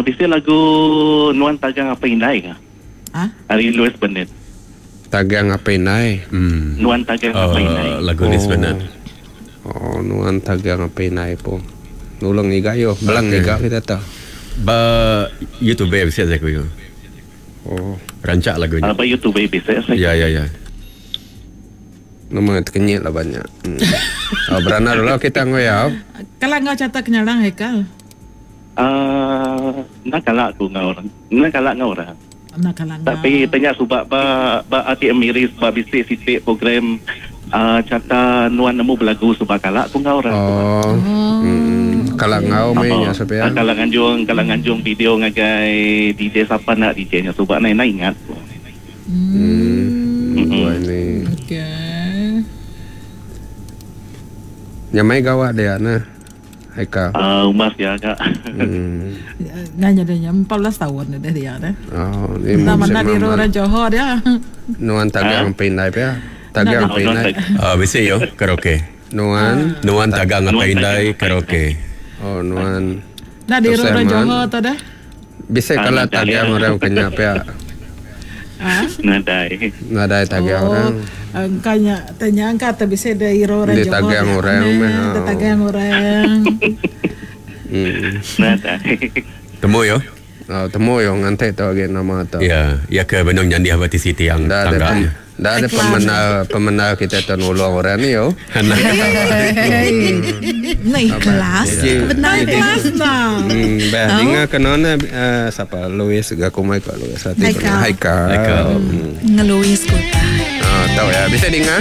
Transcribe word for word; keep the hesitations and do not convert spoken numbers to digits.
Bisi lagu Nuan Tagang Apa Indai ke? Ah? Ari Louis Bernard. Tagang Apa Indai. Hmm. Nuan Tagang Oh, Apa Indai. lagu Louis Bernard. Oh, Nuan Tagang Apa Indai pun. Nulung ngiga yo, belang Okey. ngiga kita tu. Ba YouTube bisa saya ku. Oh, Rancak lagu Uh, ni. ba YouTube bisa saya. Ya ya ya. nama terkenyit lah banyak. Hmm. Oh, beranak dulu kita ngoyau. Kalau ngau catat kenyalang Haikal. Uh, nak kalak aku ngau orang. Nak kalak ngau orang. Nak kalah ngau. Tapi tanya subak ba ba A T M miris ba bisi sitik program uh, cata nuan nemu belagu subak kalak aku ngau orang. Oh. Hmm. Kalau ngau mainnya siapa ya? Ah, Kalau nganjung, kalau nganjung video ngagai D J siapa nak D J nya subak nak nak ingat. Hmm. Wah ini. Okey. Nyamai gawat dia nah. Haikal. Ah, uh, umas ya kak. Hmm. Nganya dia empat belas tahun dah dia dah. Oh, ni Nah, mu mana di mama. orang Johor dia. Nuan tagang pinai pe. Tagang Oh, nuan pinai. tagang. Ah, bisa yo karaoke. Nuan. Nuan Tagang Apa Nuan Indai Tagang Apa karaoke. Oh, nuan. Nah, di Terus orang Eman. Johor tu dah. Bisa Ah, kalau nadai. tagang orang kenya pe. Ah. Nadai. Nadai tagang orang. Engkaunya tanya angka tapi bisa dari orang Dia Johor. tagang orang, Nah, meh. Dia tagang orang. Hmm. Nadai. Temu yo. Oh, temu yang ngantek tu lagi nama tu. Ya, ya ke benung nyandi habati siti yang Dah ada tangga. pem, dah ada pemenang pemenang kita tu nulung orang ni yo. Anak Nah, ikhlas. Benar. Kelas nah. Hmm, bah, dengar kena na uh, siapa Louis gaku mai kat Louis hati Haikal. Haikal. Haikal. Hmm. Ngeluis kota. Ah, tahu ya. Bisa dengar?